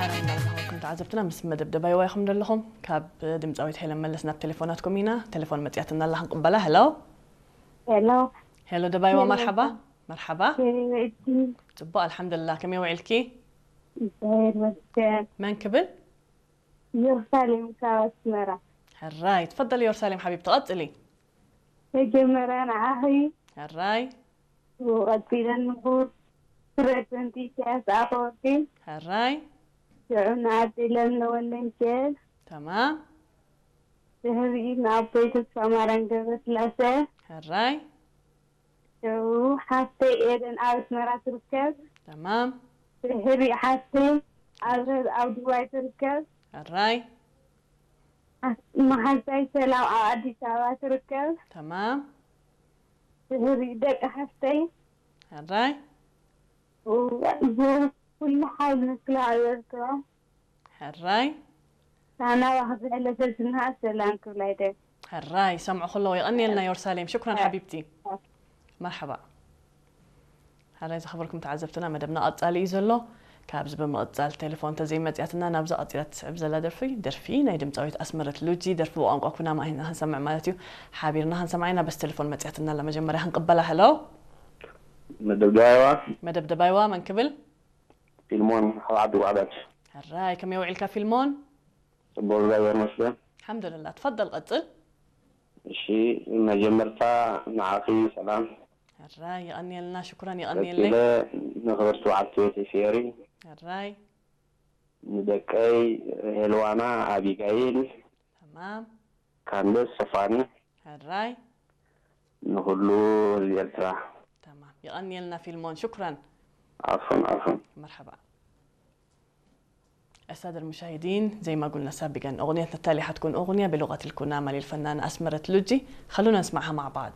እንዳረኸብኩም ተዓዘብትና ምስ መደብ ደባይዋ ኢኹም ዘለኹም። ካብ ድምፃዊት ሄለን መለስ ናብ ቴሌፎናትኩም ኢና። ቴሌፎን መፅያትና ኣላ ክንቅበላ። ሄሎ። ሄሎ። ሄሎ ደባይዋ፣ መርሓባ። መርሓባ። ከመይ ውዒልኪ? ፅቡቅ ኣልሓምዱልላ። ከመይ ውዒልኪ? እግዚኣብሔር ይመስገን። መን ክብል? ኢየሩሳሌም ካብ ኣስመራ። ሕራይ፣ ትፈደል ኢየሩሳሌም ሓቢብቲ፣ ቀፅሊ። መጀመርያ ንዓኺ፣ ሕራይ። ብኡ ቀፂለ ንክቡር ፕረዚደንት ኢሳያስ ኣፈወርቂ፣ ሕራይ። ሽዑ ንኣደይ ለምለ ወልደሚካኤል፣ ተማም። ድሕሪኡ ንኣቦይ ተስፋማርያም ገብረስላሰ፣ ሕራይ። ሽዑ ሓፍተይ ኤደን ኣብ ኣስመራ ትርከብ፣ ተማም። ድሕሪኡ ሓፍተይ ኣብረር ኣብ ዱባይ ትርከብ፣ ሕራይ። መሓዛይ ሰላም ኣብ ኣዲስ ኣበባ ትርከብ፣ ተማም። ድሕሪኡ ደቂ ሓፍተይ ሕራይ። ብኩሉ ሓይሊ ምክልኻል ኤርትራ ሕራይ። ሳና ዋክፍዕለ ሰስንሃ ሰላም ክብላ ይደል። ሕራይ፣ ሰምዑ ከለዉ የቐንየልና ኢየሩሳሌም። ሽኩራን ሓቢብቲ። መርሓባ። ሕራይ ዝኸበርኩም ተዓዘብትና፣ መደብና ቀጻሊ እዩ ዘሎ። ካብዚ ብምቕጻል ቴሌፎን ተዘይመጽያትና ናብዛ ቀጺላ ትስዕብ ዘላ ደርፊ፣ ደርፊ ናይ ድምጻዊት ኣስመረት ሉጂ፣ ደርፊ ብቋንቋ ኩናማ ኢና ክንሰምዕ ማለት እዩ። ሓቢርና ክንሰምዓ ኢና። በስ ቴሌፎን መጽያትና ኣላ፣ መጀመርያ ክንቅበላ። ሄሎ። መደብ ደባይዋ። መደብ ደባይዋ፣ መን ክብል? ፊልሞን ካብ ዓዲ ጓዕዳድ። ሕራይ፣ ከመይ ውዒልካ ፊልሞን? ጽቡቕ፣ እግዚኣብሔር ይመስገን። ኣልሓምዱልላ፣ ትፈደል ቀጽል። እሺ፣ መጀመርታ ንዓኺ ሰላም። ሕራይ፣ የቐንየልና፣ ሽኩራን፣ የቐንየለይ። ቀጺለ ንኽብርቲ በዓልቲ ቤተይ ፊዮሪ፣ ሕራይ። ንደቀይ ሄልዋና፣ ኣቢጋይል፣ ተማም። ካንደስ፣ ሰፋኒ፣ ሕራይ። ንኹሉ ህዝቢ ኤርትራ። ተማም፣ የቐንየልና ፊልሞን፣ ሽኩራን። ዓፉን ዓፉን። መርሓባ። السادة المشاهدين، زي ما قلنا سابقا، أغنيتنا التالية حتكون أغنية بلغة الكنامة للفنانة أسمرة لوجي. خلونا نسمعها مع بعض.